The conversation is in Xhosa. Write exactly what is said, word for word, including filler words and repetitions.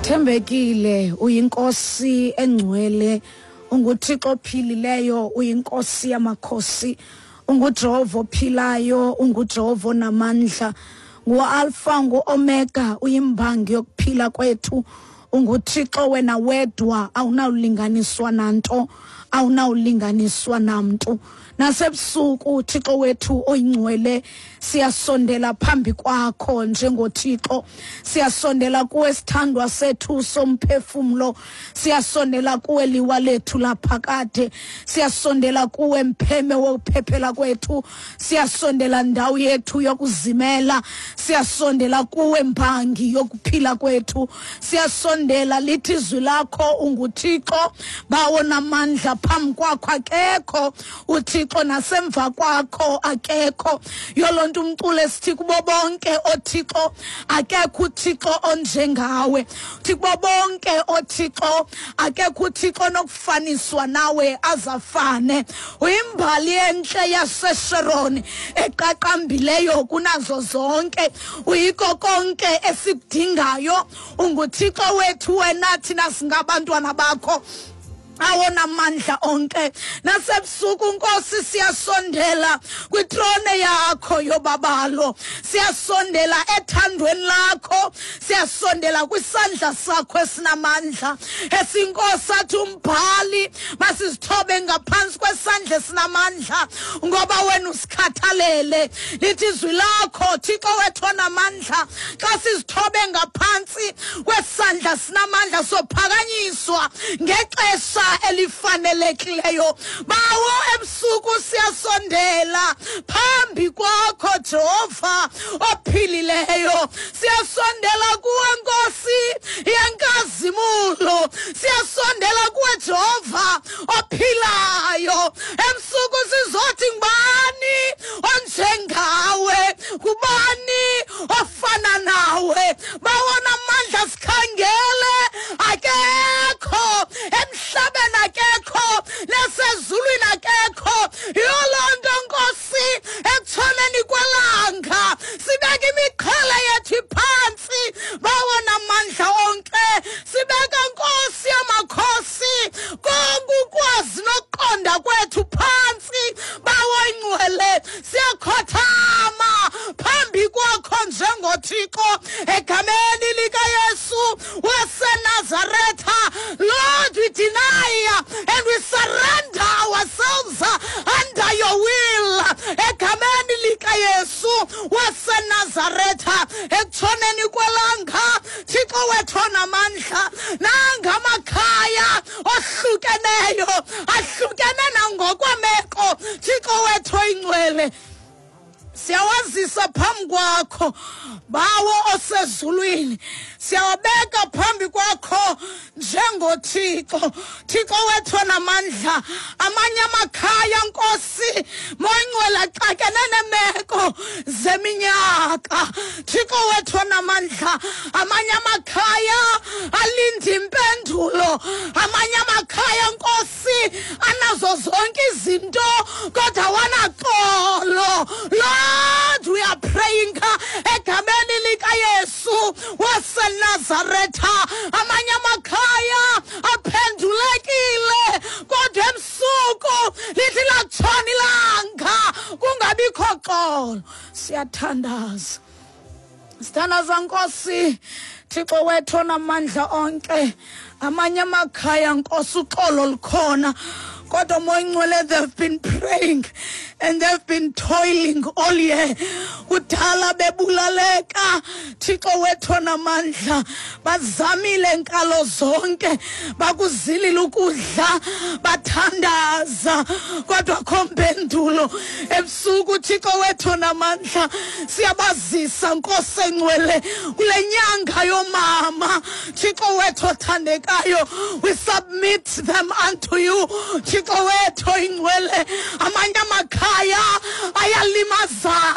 Thembekile, uyinkosi engcwele, unguThixo ophilileyo, uyinkosi yamakhosi, unguJehova ophilayo, unguJehova onamandla, ngu-Alpha, ngu-Omega, uyimbangi yokuphila kwethu, unguThixo wena wedwa, awunawulinganiswa nanto, awunawulinganiswa namntu. Nasebusuku, Thixo wethu oyingcwele, siyasondela phambi kwakho njengoThixo, siyasondela kuwe sithandwa sethu somphefumlo, siyasondela kuwe liwa lethu laphakade, siyasondela kuwe mpheme wokuphephela kwethu, siyasondela ndawo yethu yokuzimela, siyasondela kuwe mbangi yokuphila kwethu, siyasondela lithi izwi lakho unguThixo bawo namandla, phambi kwakho akekho uThixo nasemva kwakho akekho. Yolonto umculo esithi kubo bonke oThixo akekho uThixo onjengawe, uthi kubo bonke oThixo akekho uThixo onokufaniswa nawe azafane. Uyimbali entle yaseSharon eqaqambileyo kunazo zonke, uyiko konke esikudingayo, unguThixo wethu wena, thina singabantwana bakho awona mandla onke. Nasebusuku Nkosi siyasondela kwitrone yakho yobabalo, siyasondela ethandweni lakho, siyasondela kwisandla sakho esinamandla. Esinkosi athi umbhali masizithobe ngaphansi kwesandla esinamandla, ngoba wena usikhathalele. Lithi izwi lakho Thixo wethu onamandla, xa sizithobe ngaphansi kwesandla sinamandla sophakanyiswa ngexesha elifanelekileyo. Bawo ebusuku siyasondela phambi kwakho Jehova ophilileyo, siyasondela kuwe Nkosi yenkazimulo, siyasondela kuwe Jehova ophilayo. Ebusuku sizothi ngubani onjengawe, ngubani ofana nawe? Bawona amandla sikhangele akekho emhlabeni, akekho nasezulwini, akekho. Yolonto Nkosi ekutshoneni kwelanga sibeka imiqhele yethu phantsi, bawona amandla onke, sibeka Nkosi yamakhosi konke ukwazi nokuqonda kwethu phantsi, bawo ingcwele, siyakhothama phambi kwakho njengoThixo egameni likaYesu waseNazaretha. Lord, we deny and we surrender ourselves under your will egameni likaYesu waseNazaretha. Ekutshoneni kwelanga Thixo wethu onamandla, nangamakhaya ohlukeneyo ahlukene nangokwemeko, Thixo wethu oyingcwele, siyawazisa phambi kwakho bawo osezulwini, siyawabeka phambi kwakho njengoThixo, Thixo wethu onamandla. Amanye amakhaya Nkosi moyingcwele axakene nemeko zeminyaka, Thixo wethu onamandla. Amanye amakhaya alinda impendulo, amanye amakhaya Nkosi anazo zonke izinto kodwa wanaxolo. Lord, we are praying egameni likaYesu waseNazaretha. Amanye amakhaya aphendulekile kodwa ebusuku lithi latshona ilanga kungabikho xolo. Siyathandaza, sithandaza Nkosi Thixo wethu onamandla onke. Amanye amakhaya Nkosi uxolo lukhona, kodwa moyingcwele they've been praying and they've been toiling all year, kudala bebulaleka. Thixo wethu onamandla, bazamile nkalo zonke, bakuzilile ukudla, bathandaza kodwa akho mpendulo. Ebusuku Thixo wethu onamandla, siyabazisa Nkosi engcwele kule nyanga yomama. Thixo wethu othandekayo, we submit them unto you Thixo wethu oyingcwele. Amanye amakhaya ayalimazana.